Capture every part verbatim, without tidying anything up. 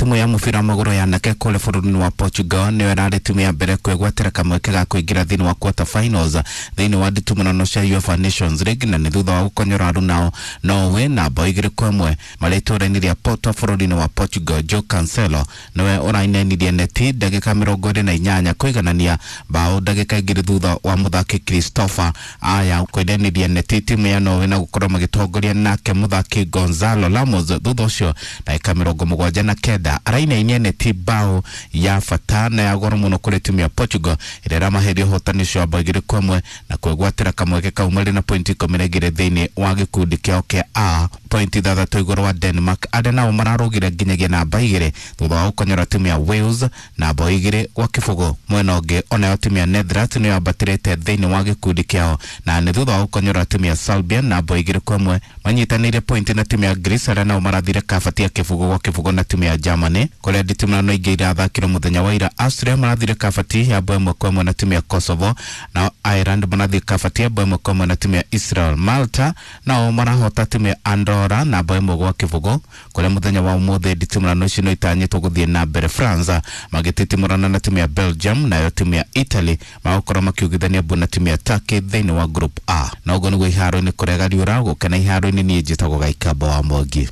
Timu ya mũbira wa magũrũ ya anake kũrĩa bũrũri-inĩ wa Portugal nĩyo ĩrarĩ timu ya mbere kwĩgwatĩra kamweke ga kũingĩra thĩinĩ wa quarter finals thĩinĩ wa nditimũrano cia UEFA Nations League, na nĩ thutha wa gũkonyora arunao Norway na bao igĩrĩ kwa ĩmwe marĩ itũũra-inĩ rĩa Porto bũrũri-inĩ wa Portugal. Joe Cancelo nĩwe ũrainenirie neti ndagĩka mĩrongo ĩrĩ na inyanya kũiganania bao ndagĩka igĩrĩ thutha wa mũthaki Christopher Aya kũineniria neti timu ya Norway na gũkorwo magĩtongoria nake mũthaki Gonzalo Ramos. Thutha ũcio ndagĩka mĩrongo mũgwanja na kenda arainainia neti bao ya bata na ya goro mũno kũrĩ timu ya Portugal ĩrĩa ĩramaheria ũhotani ũcio wa bao igĩrĩ kwa ĩmwe na kwĩgwatĩra kamweke kau marĩ na pointi ikũmi na igĩrĩ thĩinĩ wa gĩkundi kĩao kĩa A, pointi ithathatũ igũrũ wa Denmark arĩa nao mararũgire nginyagia namba igĩrĩ thutha wa gũkonyora timu ya Wales na bao igĩrĩ gwa kĩbũgũ. Mwena ũngĩ onayo timu ya Netherlands nĩyo yambatĩrĩte thĩinĩ wa gĩkundi kĩao na nĩ thutha wa gũkonyora timu ya Serbia na bao igĩrĩ kwa ĩmwe manyitanĩire pointi na timu ya Greece arĩa nao marathire kabati ya kĩbũgũ gwa kĩbũgũ na timu ya Germany. Kũrĩa nditimũrano ingĩ irathakirwo mũthenya wa ira, Austria marathire kabati ya bao ĩmwe kwa ĩmwe na timu ya Kosovo, nao Ireland marathire kabati ya bao ĩmwe kwa ĩmwe na timu ya Israel. Malta nao marahota timu ya Andorra na bao ĩmwe gwa kĩbũgũ. Kũrĩa mũthenya wa ũmũthĩ nditimũrano icio no itanyĩtwo gũthiĩ na mbere, France magĩtitimũrana na timu ya Belgium, nayo timu ya Italy magũkorwo makiugithania mbu na timu ya Turkey thĩinĩ wa Group A. Na ũguo nĩguo iharo-inĩ kũrega riũra gũkena iharo-inĩ. Niĩ njĩtagwo Gaikamba wa Mwangi.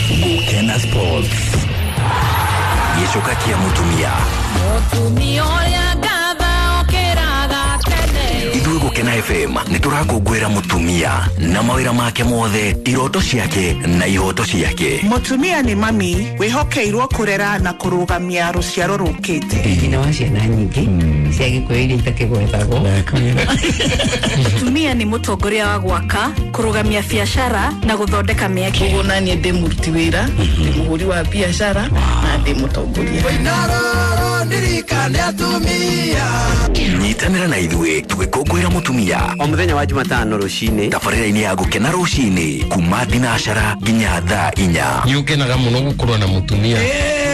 Gukena Sports. Gĩcoka kĩa mũtumia. Mũtumia ũrĩa ngatha okĩraga tene. Ithuĩ Gukena F M nĩ tũrakũngũĩra mũtumia na mawĩra make mothe, iroto ciake na ihoto ciake. Mũtumia nĩ mami wĩhokeirwo kũrera na kũrũgamia rũciaro rũkĩte. Nyina wa ciana nyingĩ cia Gĩkũyũ iria itakĩgwetagwo. Mũtumia nĩ mũtongoria wa gwaka, kũrũgamia biacara na gũthondeka mĩeke. Koguo naniĩ ndĩ mũruti wĩra, ndĩ mũhũri wa biacara na ndĩ mũtongoria. Nyitanĩra na ithuĩ tũgĩkũngũĩra mũtumia o mũthenya wa Jumatano rũcinĩ tabarĩra-inĩ ya Gũkena rũcinĩ kuma thinacara nginya thaa inya. Nĩ ũkenaga mũno gũkorwo na mũtumia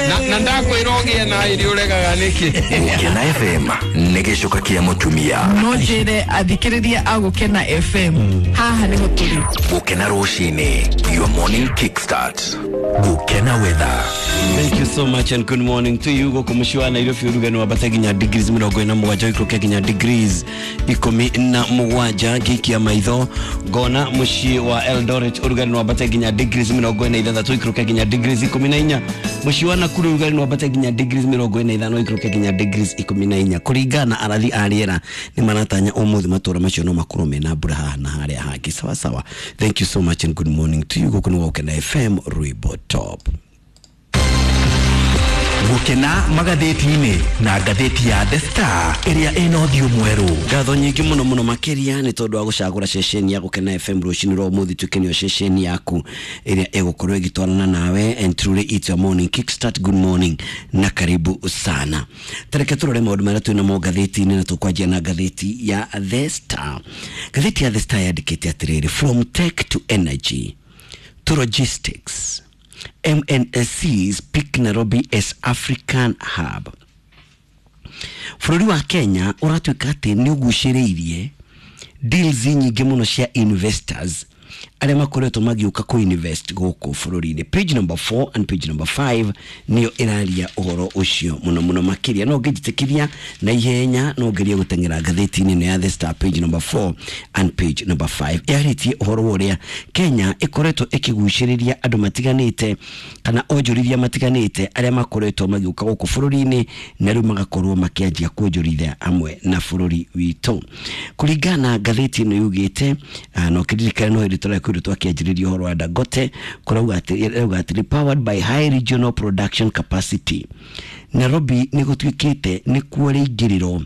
na na ndakwĩra ũgĩe na irio ũregaga nĩkĩ. Gũkena F M nĩ gĩcoka kĩa mũtumia. No njĩre athikĩrĩria a Gũkena F M haha nĩho tũrĩ. Gũkena rũcinĩ, your morning kickstart. Gũkena weather. Thank you so much and good morning to you. Gũkũ mũciĩ wa Nairobi ũrugarĩ wambate nginya degrees mĩrongo ĩna mũgwanja ũikũrũke nginya degrees ikũmi na mũgwanja. Ngĩikia maitho ngona mũciĩ wa Eldoret ũrugarĩ wambate nginya degrees mĩrongo ĩna ithathatũ ũikũrũke nginya degrees ikũmi na inya. Mũciĩ wa Nakuru ũrugarĩ wambate nginya degrees mĩrongo ĩna ithano ũikũrũke nginya degrees ikũmi na inya. Kũringana na arathi a rĩera nĩ maratanya ũmũthĩ matũũra macio no makorwo mena mbura haha na harĩa hangĩ. Sawa sawa. Thank you so much and good morning to you. Gũkũ nĩ Gũkena F M Rwĩmbo Top. Gũkena magathĩti-inĩ na ngathĩti ya The Star ĩrĩa ĩna ũthiũ mwerũ. Ngatho nyingĩ mũno mũno makĩria nĩ tondũ wa gũcagũra ceceni ya Gũkena F M rũcinĩ rwa ũmũthĩ tuĩke nĩyo ceceni yaku ĩrĩa ĩgũkorwo ĩgĩtwarana nawe. And truly it's your morning kickstart. Good morning na karibu sana. Tareke tũrore maũndũ marĩa twĩ namo ngathĩti-inĩ na tũkwanjia na ngathĩti ya The Star. Ngathĩti ya The Star yandĩkĩte atĩrĩrĩ, from tech to energy to logistics, M N S Cs pick Nairobi as African hub. Bũrũri wa Kenya ũratuĩka atĩ nĩ ũgucĩrĩirie deals nyingĩ mũno cia investors arĩa makoretwo magĩũka kũ-invest gũkũ bũrũri-inĩ. Page number four and page number five nĩyo ĩraria ũhoro ũcio mũno mũno makĩria. No ngĩnjĩtĩkĩria na ihenya no ngerie gũteng'era ngathĩti-inĩ ĩno ya The Star page number four and page number five yarĩtie ũhoro wa ũrĩa Kenya ĩkoretwo ĩkĩgucĩrĩria andũ matiganĩte kana onjorithia matiganĩte arĩa makoretwo magĩũka gũkũ bũrũri-inĩ na rĩu magakorwo makĩanjia kuonjorithia hamwe na bũrũri witũ. Kũringana na ngathĩti ĩno yugĩte, no kĩririkane no hĩndĩ tũrakwĩrwo twakĩanjĩrĩria ũhoro wa Dangote kũrauga atĩ ĩrauga atĩrĩ, powered by high regional production capacity, Nairobi nĩ gũtuĩkĩte nĩkuo rĩingĩrĩro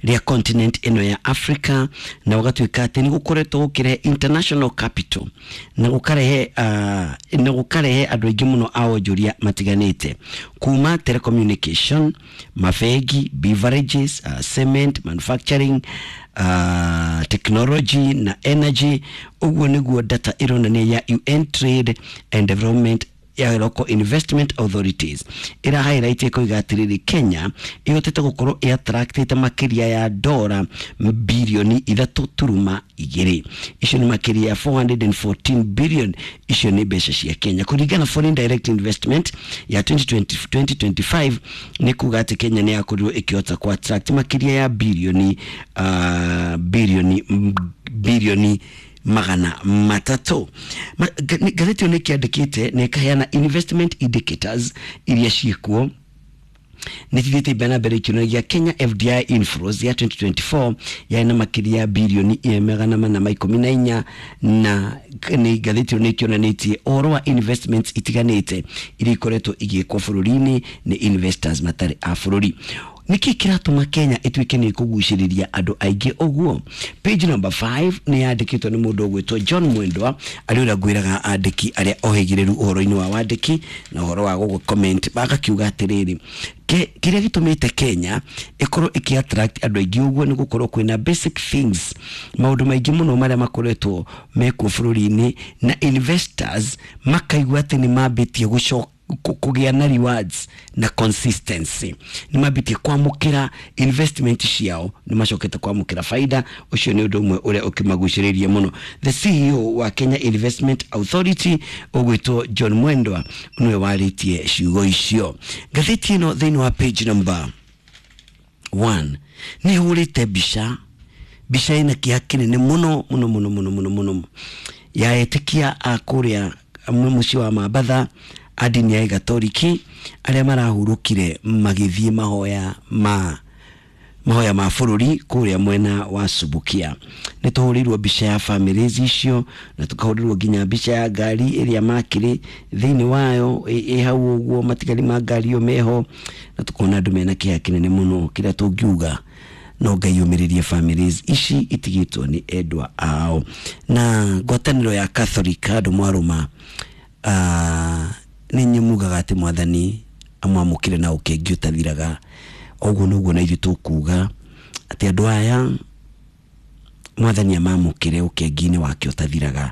rĩa continent ĩno ya Africa, na gũgatuĩka atĩ nĩ gũkoretwo gũkĩrehe international capital na gũkarehe uh, na gũkarehe andũ aingĩ mũno a onjoria matiganĩte kuma telecommunication, mabengi, beverages, uh, cement manufacturing, uh, technology na energy. Ũguo nĩguo data ĩronania ya U N Trade and Development ya local investment authorities ĩra highlight ĩkoiga atĩrĩrĩ, Kenya ĩhotete gũkorwo ĩ attractĩte makĩria ya dora bilioni ithatũ turuma igĩrĩ, icio nĩ makĩria ya four hundred fourteen billion, icio nĩ mbeca cia Kenya kũringana foreign direct investment ya twenty twenty-five. Nĩ kuga atĩ Kenya nĩ yakorirwo ĩkĩhota ku attract makĩria ya bilioni uh, bilioni bilioni magana matatũ. Ngathĩti ĩyo nĩ ĩkĩandĩkĩte na ĩkaheana investment indicators iria ciĩkuo nĩ cithiĩte mbere na mbere ikĩonanagia Kenya F D I inflows ya twenty twenty-four yarĩ na makĩria ya bilioni magana mana ma ikũmi na inya, na nĩ ngathĩti ĩyo nĩ ĩkĩonanĩtie ũhoro wa investments itiganĩte iria ikoretwo igĩkwo bũrũri-inĩ nĩ investors matarĩ a bũrũri. Nĩkĩ kĩratũma Kenya ĩtuĩke nĩ ĩkũgucĩrĩria andũ aingĩ ũguo? Page number five nĩ yandĩkĩtwo nĩ mũndũ ũgwĩtwo John Mwendwa, arĩa ũrĩa ngwĩraga andĩki arĩa ohĩgĩrĩru ũhoro-inĩ wa wandĩki na ũhoro wa gũgũ comment, bagakiuga atĩrĩrĩ, kĩrĩa gĩtũmĩte Kenya ĩkorwo ĩkĩ attract andũ aingĩ ũguo nĩ gũkorwo kwĩna basic things, maũndũ maingĩ mũno marĩa makoretwo mekuo bũrũri-inĩ, na investors makaigua atĩ nĩ mambĩtie gũcoka kũgĩa na rewards na consistency, nĩ mambĩtie kwamũkĩra investment ciao, nĩ macokete kwamũkĩra faida. Ũcio nĩ ũndũ ũmwe ũrĩa ũkĩmagucĩrĩria mũno. The C E O wa Kenya Investment Authority ũgwĩtwo John Mwendwa nĩwe warĩtie ciugo icio. Ngathĩti ĩno thĩinĩ wa page number one nĩ hũrĩte mbica, mbica ĩna kĩeha kĩnene mũno mũno mũno mũno mũno mũno ya etĩkia a kũrĩa mũciĩ wa Mambatha a ndini ya Gatoliki arĩa marahurũkire magĩthiĩ mahoya ma mahoya ma bũrũri kũrĩa mwena wa Subukia. Nĩ tũhũrĩirwo mbica ya families icio na tũkahũrĩrwo nginya mbica ya ngari ĩrĩa makĩrĩ thĩinĩ wayo ĩ hau ũguo, matigari ma ngari ĩyo meho, na tũkona andũ mena kĩeha kĩnene mũno. Kĩrĩa tũngiuga no Ngai ũmĩrĩrie families ici itigĩtwo nĩ endwa ao. Na ngwatanĩro ya Catholic andũ mwarũma, uh, nĩ inyuĩ mugaga atĩ mwathani amwamũkĩre na ũkengi ũtathiraga. Ũguo noguo na ithuĩ tũkuga atĩ andũ aya mwathani amamũkĩre ũkengi-inĩ wake ũtathiraga.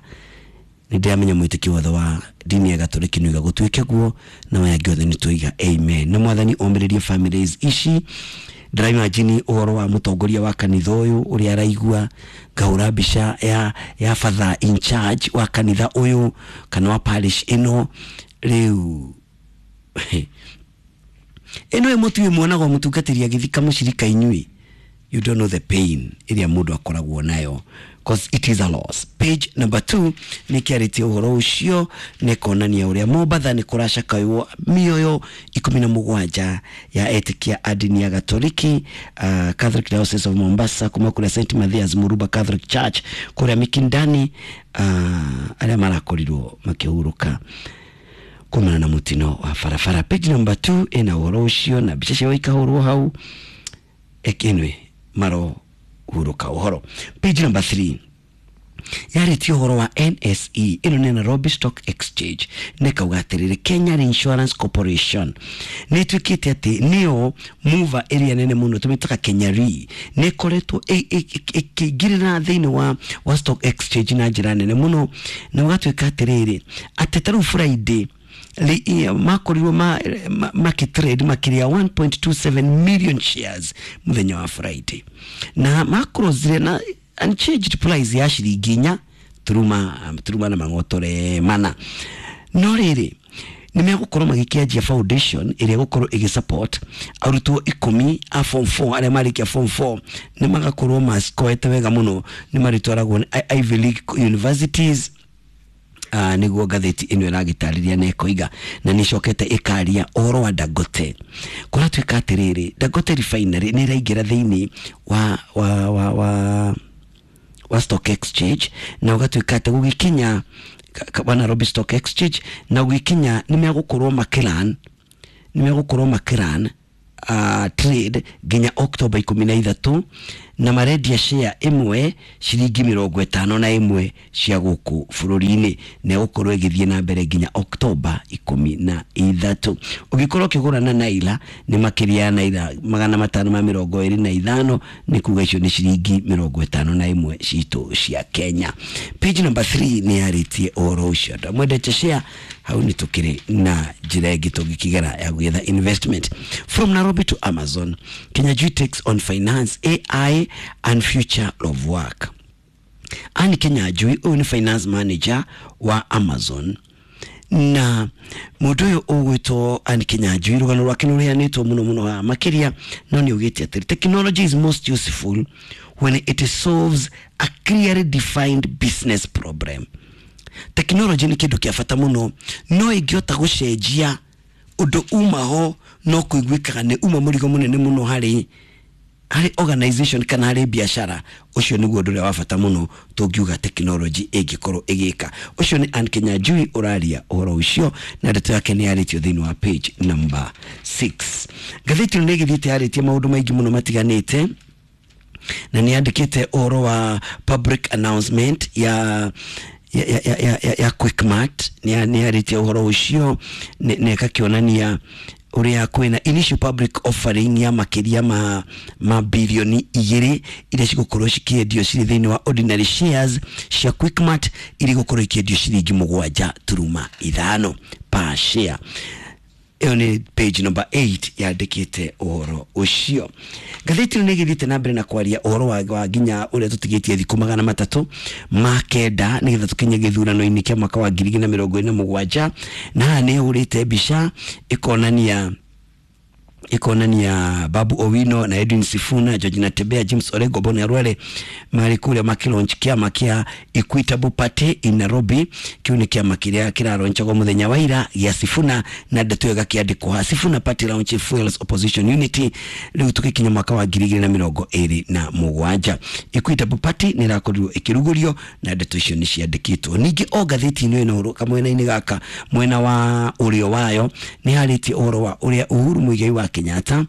Nĩ ndĩramenya mwĩtĩkio wothe wa ndini ya Gatoliki nĩ uga gũtuĩke guo, na aya angĩ othe nĩ tũiga amen. Na mwathani omĩrĩrie families ici. Ndĩraimagine ũhoro wa mũtongoria wa kanitha ũyũ ũrĩa araigua, ngahũra mbica ya, ya father in charge wa kanitha ũyũ kana wa parish ĩno. Rĩu ĩno ĩmũtuĩ mwonaga mũtungatĩri agĩthika mũcirika inyuĩ, you don't know the pain ĩrĩa mũndũ akoragwo nayo, cause it is a loss. Page number two nĩ kĩarĩtie ũhoro ũcio, nĩ kuonania ũrĩa Mombatha nĩ kũracakaywo mĩoyo ikũmi na mũgwanja ya etĩkia a ndini ya Gatoliki, uh, Catholic Diocese of Mombasa, kuma kũrĩa Saint Mathias Muruba Catholic Church kũrĩa Mikindani, uh, arĩa marakorirwo makĩhurũka kumana na mutino wa barabara. Page number two ĩna ũhoro ũcio na mbica ciao ikahũrwo hau, ekinwe maro huruka ũhoro. Page number three yarĩtie ũhoro wa N S E, ĩno nĩ Nairobi Stock Exchange, nĩ kauga atĩrĩrĩ, Kenya Insurance Corporation nĩ ĩtuĩkĩte atĩ nĩyo mover ĩrĩa nene mũno tũmĩtaga Kenya Re, nĩ ĩkoretwo ĩkĩingĩrĩra thĩinĩ wa, wa stock exchange na njĩra nene mũno, na ũgatuĩka atĩrĩrĩ atĩ ta rĩu Friday makorirwo makitrade makĩria one point two seven million shares mũthenya wa Friday, na makrosire na unchanged price ya ciringi inya turuma turuma na mang'otore mana. No rĩrĩ nĩ megũkorwo magĩkĩanjia foundation ĩrĩa ĩgũkorwo ĩgĩsupport arutwo ikũmi a form four arĩa marĩkia form four, nĩ magakorwo masikoete wega mũno, nĩ marĩtwaragwo nĩ Ivy League universities. Uh, nĩguo ngathĩti ĩno ĩragĩtarĩria na ĩkoiga, na nĩcokete ĩkaria ũhoro wa Dangote. Kũratuĩka atĩrĩrĩ, Dangote refinery nĩ ĩraingĩra thĩinĩ wa wa wa wa wa stock exchange, na ũgatuĩka atĩ gũgĩkinya wa Nairobi Stock Exchange, na ũgĩkinya nĩ megũkorwo makĩran nĩ megũkorwo makĩran uh, trade nginya October ikũmi na ithatũ, na marendia share ĩmwe ciringi mĩrongo ĩtano na ĩmwe cia gũkũ bũrũri-inĩ, na ĩgũkorwo ĩgĩthiĩ na mbere nginya October ikũmi na ithatũ. Ũngĩkorwo ũkĩgũra na naira nĩ makĩria ya naira magana matano ma mĩrongo ĩrĩ na ithano, nĩ kuga icio nĩ ciringi mĩrongo ĩtano na ĩmwe citũ cia Kenya. Page number three nĩ yarĩtie ũhoro ũcio. Andũ mwendete share Hau nĩ tũkĩrĩ na njĩra ĩngĩ tũngĩkĩgera ya gwetha investment. From Nairobi to Amazon, Kinyanjui takes on finance, A I and future of work. Anne Kinyanjui ũyũ nĩ finance manager wa Amazon, na mũndũ ũyũ ũgwĩtwo Anne Kinyanjui, rũgano rwake nĩ rũheanĩtwo mũno mũno haha makĩria, no nĩ augĩte atĩrĩ, "Technology is most useful when it solves a clearly defined business problem." Technology nĩ kĩndũ kĩa bata mũno, no ĩngĩhota gũcenjia ũndũ uma ho no kũiguĩkaga nĩ uma mũrigo mũnene mũno harĩ harĩ organization kana harĩ biashara. Ũcio nĩguo ũndũ ũrĩa wa bata mũno tũngiuga technology ĩngĩkorwo ĩgĩka. Ũcio nĩ Anne Kinyanjui ũraria ũhoro ũcio, na ndeto yake nĩ yarĩtio thĩinĩ wa page number six. Ngathĩti ĩno nĩ ĩgĩthiĩte yarĩtie maũndũ maingĩ mũno matiganĩte, na nĩ yandĩkĩte ũhoro wa public announcement ya ya, ya, ya, ya, ya, ya Quickmart. Nĩ nĩ yarĩtie ũhoro ũcio nĩ ĩgakĩonania ũrĩa kwĩna initial public offering ya makĩria ma, ma bilioni igĩrĩ iria cigũkorwo cikĩendio cirĩ thĩinĩ wa ordinary shares cia Quickmart, iria igũkorwo ikĩendio ciringi mũgwanja turuma ithano per share. Ĩyo nĩ page number eight yandĩkĩte ũhoro ũcio. Ngathĩti ĩno nĩ ĩgĩthiĩte na mbere na kwaria ũhoro wa, wa nginya ũrĩa tũtigĩtie thikũ magana matatũ ma kenda nĩgetha tũkinye gĩthurano-inĩ kĩa mwaka wa ngiri igĩrĩ na mĩrongo ĩrĩ na mũgwanja, na haha nĩ ĩhũrĩte mbica ĩkonania ĩkonania Babu Owino na Edwin Sifuna, George Natembeya, James Orengo, Boni Khalwale marĩ kũrĩa makĩlaunch kĩama kĩa Equitable Party in Nairobi. Kĩu nĩ kĩama kĩrĩa kĩraronchagwo mũthenya wa ira gĩa Sifuna, na ndeto ĩyo ĩgakĩandĩkwo ha, "Sifuna Party launch fuels opposition unity." Rĩu tũgĩkinya mwaka wa ngiri igĩrĩ na mĩrongo ĩrĩ na mũgwanja, Equitable Party nĩ ĩrakorirwo ĩkĩrugũrio, na ndeto icio nĩ ciandĩkĩtwo. Ningĩ o ngathĩti-inĩ ĩno, kamwena-inĩ gaka mwena wa ũrĩo wayo, nĩ harĩtie ũhoro wa ũrĩa Uhuru Muigai wa Kenyatta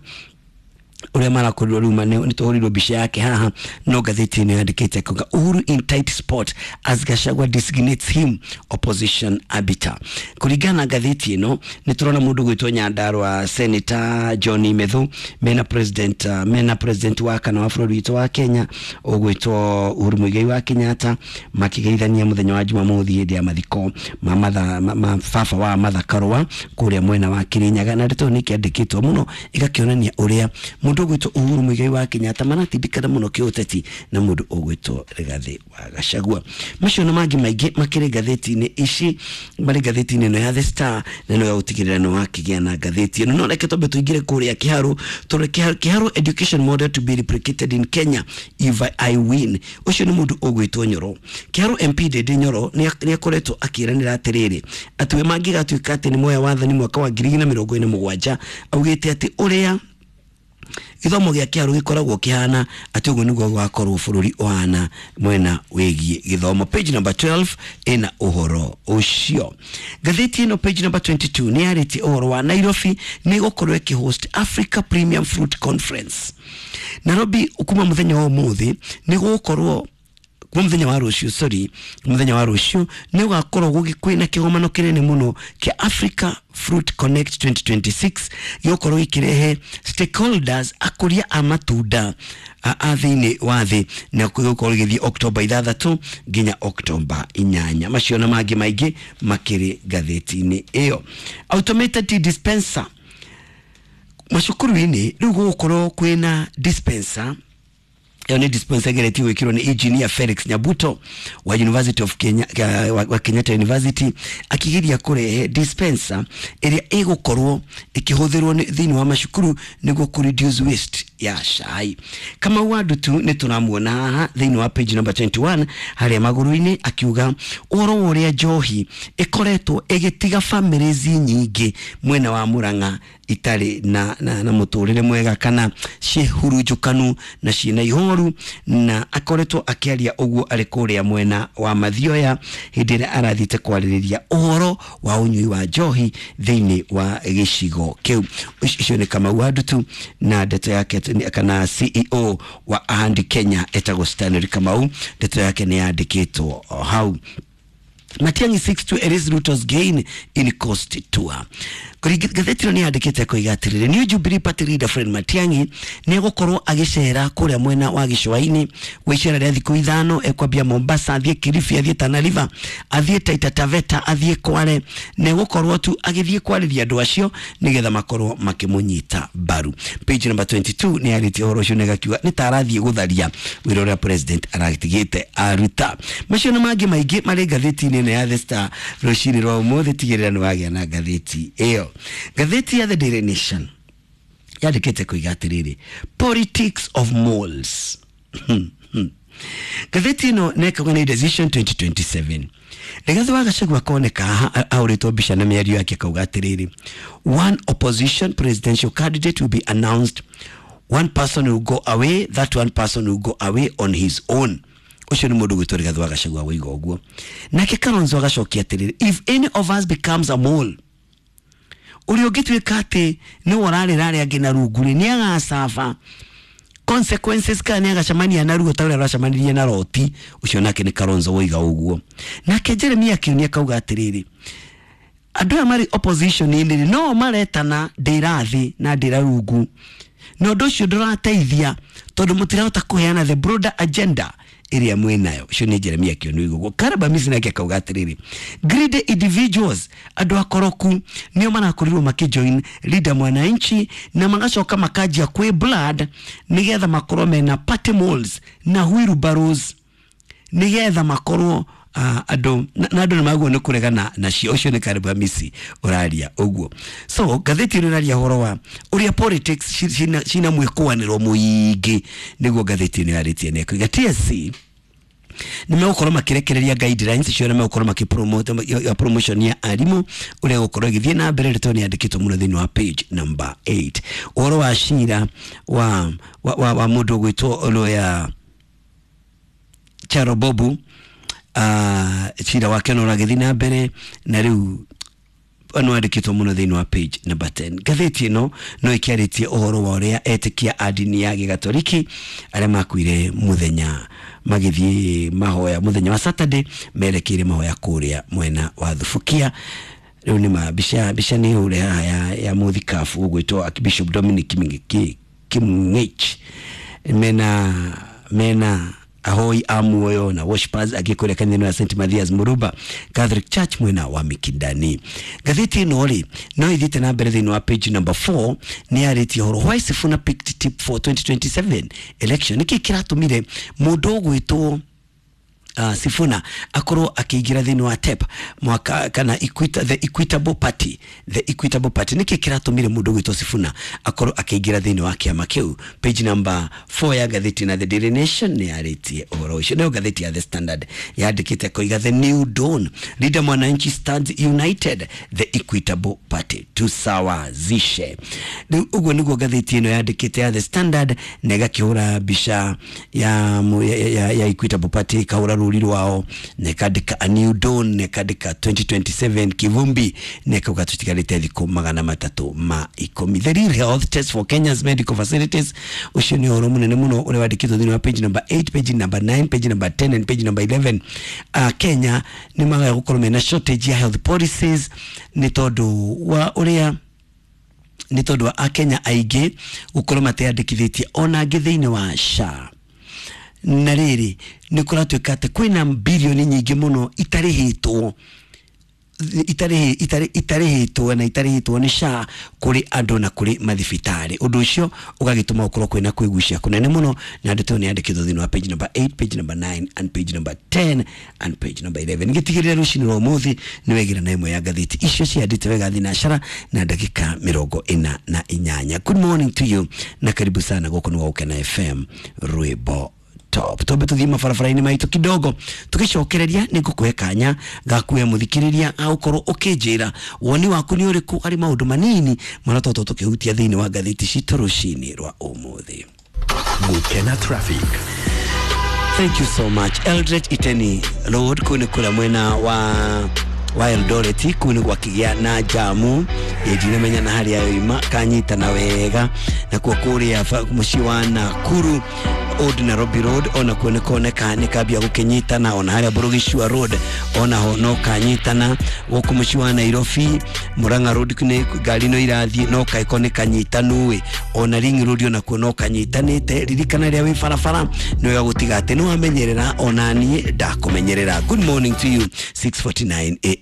ũrĩa marakorirwo rĩu nĩ tũhũrirwo mbica yake haha, no ngathĩti ĩno yandĩkĩte kuga, "Uhuru in tight spot as Gachagua designates him opposition arbiter." Kũringana na ngathĩti ĩno, nĩ tũrona mũndũ gwĩtwo Nyandarua Senator John Methu mena president uh, mena president wa kana wa bũrũri witũ wa Kenya ũgwĩtwo Uhuru Muigai wa Kenyatta makĩgeithania mũthenya wa Jumamothi hĩndĩ ya mathiko ma, matha, ma, ma baba wa Martha Karua kũrĩa mwena wa Kirinyaga. Na ndeto nĩ kĩandĩkĩtwo mũno ĩgakĩonania ũrĩa mũndũ ũgwĩtwo Uhuru Muigai wa Kenyatta maratindĩkana mũno kĩũteti na mũndũ ũgwĩtwo Rigathĩ wa Gachagua. Macio na mangĩ maingĩ makĩrĩ ngathĩti-inĩ ici, marĩ ngathĩti-inĩ ĩno ya The Star, na ĩno ya gũtigĩrĩra nĩ wakĩgĩa na ngathĩti ĩno. No reke twambe tũingĩre kũrĩa Kiharu, tũrore Kiharu education model to be replicated in Kenya if I win. Ũcio nĩ mũndũ ũgwĩtwo Nyoro. Kiharu M P Ndindi Nyoro nĩ akoretwo akĩranĩra atĩrĩrĩ, atĩ we mangĩgatuĩka atĩ nĩ moya wathani mwaka wa ngiri igĩrĩ na mĩrongo ĩna mũgwanja, augĩte atĩ ũrĩa gĩthomo gĩa Kĩharu gĩkoragwo kĩhana, atĩ ũguo nĩguo gũgakorwo bũrũri ũhana mwena wĩgiĩ gĩthomo. Page number twelve ĩna ũhoro ũcio. Ngathĩti ĩno page number twenty-two nĩ yarĩtie ũhoro wa Nairobi nĩ ĩgũkorwo ĩkĩhost Africa Premium Fruit Conference. Nairobi kuma mũthenya wa ũmũthĩ nĩ gũgũkorwo, kuma mũthenya wa rũciũ, sorry, mũthenya wa rũciũ nĩ gũgakorwo kwĩna kĩgomano kĩnene mũno kĩa Africa Fruit Connect twenty twenty-six, gĩgũkorwo gĩkĩrehe stakeholders, akũria a matunda a, a thĩinĩ wa thĩ, na gĩgũkorwo gĩgĩthiĩ Oktoba ithathatũ nginya Oktoba inyanya. Macio na mangĩ maingĩ makĩrĩ ngathĩti-inĩ ĩyo. Automated tea dispenser macukuru-inĩ, rĩu gũgũkorwo kwĩna dispenser. Ĩyo nĩ dispenser ĩgeretie gwĩkĩrwo nĩ Engineer Felix Nyabuto wa University of Kenya, wa, wa Kenyatta University, akĩgeria kũrehe dispenser ĩrĩa ĩgũkorwo ĩkĩhũthĩrwo thĩinĩ wa macukuru nĩguo kũ reduce waste ya cai. Kamau wa Ndutu nĩ tũramuona haha thĩinĩ wa page number twenty-one harĩa magũrũ-inĩ, akiuga ũhoro wa ũrĩa njohi ĩkoretwo ĩgĩtiga families nyingĩ mwena wa Murang'a itarĩ na, na, na mũtũrĩre mwega kana ciĩhurunjũkanu na ciĩna ihoru, na akoretwo akĩaria ũguo arĩ kũrĩa mwena wa Mathioya hĩndĩ ĩrĩa arathiĩte kwarĩrĩria ũhoro wa ũnyui wa njohi thĩinĩ wa gĩcigo kĩu. Ũcio nĩ Kamau wa Ndutu na ndeto yake, kana C E O wa Ahandi Kenya etagwo Stanley Kamau, ndeto yake nĩ yandĩkĩtwo hau. Matiang'i seeks to erase Ruto's gain in coast tour. Ngathĩti ĩno nĩ yandĩkĩte koiga atĩrĩrĩ, New Jubilee Party leader Fred Matiang'i nĩ egũkorwo agĩcera kũrĩa mwena wa gĩcũa-inĩ gwa icera rĩa thikũ ithano. Ekwambia Mombasa, athiĩ Kilifi, athiĩ Tana River, athiĩ Taita Taveta, athiĩ Kwale, na egũkorwo tu agĩthiĩ kwarĩria andũ acio nĩgetha makorwo makĩmũnyita mbaru. Page number twenty-two nĩ yarĩtie ũhoro ũcio na ĩgakiuga nĩ ta arathiĩ gũtharia wĩra ũrĩa president aratigĩte aruta. Macio na mangĩ maingĩ marĩ ngathĩti-inĩ ĩno ya The Star rũcinĩ rwa ũmũthĩ. Tigĩrĩra nĩ wagĩa na ngathĩti ĩyo. Ngathĩti ya The Daily Nation yandĩkĩte kuiga atĩrĩrĩ, politics of moles. Ngathĩti ĩno nĩkauga nĩ decision twenty twenty-seven. Rigathi wa Gachagua akoneka haha ahũrĩtwo mbica na mĩario yake akauga atĩrĩrĩ, one opposition presidential candidate will be announced, one person will go away, that one person will go away on his own. Ũcio nĩ mũndũ gwĩtwo Rigathi wa Gachagua woiga ũguo. Nake Kalonzo agacokia atĩrĩrĩ, if any of us becomes a mole, ũrĩa ũngĩtuĩka atĩ nĩwe ũrarĩra arĩa angĩ na rungu rĩ, nĩ agacaba consequences kana nĩ agacemania na ruo ta ũrĩa aracemanirie na Loti. Ũcio nake nĩ Kalonzo woiga ũguo. Nake Jeremia Kioni akauga atĩrĩrĩ, andũ aya marĩ opposition-inĩ rĩ, no maretana ndĩra thĩ na ndĩra rungu, na ũndũ ũcio ndũrateithia tondũ mũtirahota kũheana the broader agenda ĩrĩa mwĩnayo. Ũcio nĩ Jeremia Kioni woiga ũguo. Caleb Amisi nake akauga atĩrĩrĩ, greedy individuals, andũ akoroku nĩo marakorirwo makĩjoin Leader Mwananchi na magacoka makanjia kwĩ blood nĩgetha makorwo mena party moles na wheelbarrows nĩgetha makorwo uh, andũ na andũ nĩ magwo nĩ kũregana nacio. Ũcio nĩ Caleb Amisi ũraria ũguo. So ngathĩti ĩno ĩraria ũhoro wa ũrĩa politics cina cina mwĩkũanĩro mũingĩ, nĩguo ngathĩti ĩno yarĩtie na ĩkoiga T S C nĩ megũkorwo makĩrekereria guidelines cio na megũkorwo makĩpromote ya promotion ya arimũ ũrĩa gũkorwo ĩgĩthiĩ na mbere. Rĩtwa nĩ yandĩkĩtwo mũno thĩinĩ wa page number eight. Ũhoro wa cira wa wa, wa, wa mũndũ ũgwĩtwo lawyer Charo Bobu, uh, cira wake no ũragĩthiĩ na mbere na rĩu no andĩkĩtwo mũno thĩinĩ wa page number ten. Ngathĩti ĩno no ĩkĩarĩtie ũhoro wa ũrĩa etĩkia a ndini ya gĩgatoliki arĩa makuire mũthenya magĩthiĩ mahoya mũthenya wa Saturday merekeire mahoya kũrĩa mwena wa Thubukia. Rĩu nĩ ma mbica mbica nĩ hũre haha ya, ya mũthikabu ũgwĩtwo Archbishop Dominic Kimng'ech mena mena ahoi a muoyo na worshipers agĩkũrĩa kanitha ya Saint Mathias Muruba Catholic Church mwena wa Mikindani. Ngathĩti ĩno rĩ no ĩthiĩte na mbere thĩinĩ wa page number four nĩ yarĩtie ũhoro why Sifuna picked tip for twenty twenty-seven election. Nĩkĩ kĩratũmire mũndũ ũgwĩtwo Uh, Sifuna akorwo akĩingĩra thĩinĩ wa T E P mwaka kana Equita, the Equitable Party, the Equitable Party. Nĩkĩ kĩratũmire mũndũ gwĩtwo Sifuna akorwo akĩingĩra thĩinĩ wa kĩama kĩu? Page number four ya ngathĩti na The Daily Nation nĩ yarĩtie ũhoro ũcio. Nayo ngathĩti ya The Standard yandĩkĩte koiga the new dawn, Leader Mwananchi stands united, the Equitable Party tusawazishe. Rĩu ũguo nĩguo ngathĩti ĩno yandĩkĩte ya The Standard na ĩgakĩhũra mbica ya, ya, ya, ya Equitable Party, ikahũra rũri rwao na ĩkandĩka a new dawn na ĩkandĩka twenty twenty-seven kivumbi na ĩkauga tũtigarĩte thikũ magana matatũ ma ikũmi. The real health test for Kenya's medical facilities. Ũcio nĩ ũhoro mũnene mũno ũrĩa wandĩkĩtwo thĩinĩ wa page number eight, page number nine, page number ten and page number eleven. Uh, Kenya nĩ magaga gũkorwo mena shortage ya health policies nĩ tondũ wa ũrĩa nĩ tondũ wa Akenya aingĩ gũkorwo mateyandĩkithĩtie ona angĩ thĩinĩ wa S H A. Na rĩrĩ nĩ kũratuĩka atĩ kwĩna bilioni nyingĩ mũno itarĩhĩtwo itarĩ itarĩ itarĩhĩtwo na itarĩhĩtwo nĩ S H A kũrĩ andũ na kũrĩ mathibitarĩ. Ũndũ ũcio ũgagĩtũma gũkorwo kwĩna kwĩgucia kũnene mũno, na ndeto nĩ yandĩkĩtwo thĩinĩ wa page number eight, page number nine and page number ten and page number eleven. Ngĩtigĩrĩra rũcinĩ rwa ũmũthĩ nĩ wegĩra na ĩmwe ya ngathĩti icio ciandĩte wega thinacara na ndagĩka mĩrongo ĩna na inyanya. Good morning to you na karibu sana gũkũ nĩ Gũkena F M rwĩmbo top. Tombe tuthie mabarabara-inĩ maitũ kidogo tugicokereria nĩ ngũkũhe kanya gakuhe mũthikĩrĩria agũkorwo ũkĩnjĩra woni waku nĩ ũrĩkũ harĩ maũndũ manini marĩa tũtũ tũkĩhutia thĩinĩ wa ngathĩti citũ rũcinĩ rwa ũmũthĩ. Gũkena Traffic. Thank you so much. Eldred Iteni Road kũu nĩ kũrĩa mwena wa wa Eldoret kũu nĩ gwakĩgĩa na jamu ndinamenya na harĩa yoima kanyitana wega. Nakuo kũrĩa mũciĩ wa Nakuru Old Nairobi Road onakuo nĩ kuoneka nĩ kambia gũkĩnyitana, ona harĩa Burugicua Road onaho no kanyitana. Gũkũ mũciĩ wa Nairobi Murang'a Road nĩ ngari no irathiĩ no kaiko nĩ kanyitanu ĩ, ona Ring Road onakuo no kanyitanĩte. Ririkana rĩrĩa wĩ barabara nĩ wega gũtiga atĩ nĩ wamenyerera, ona niĩ ndakũmenyerera. Good morning to you. six forty-nine a m.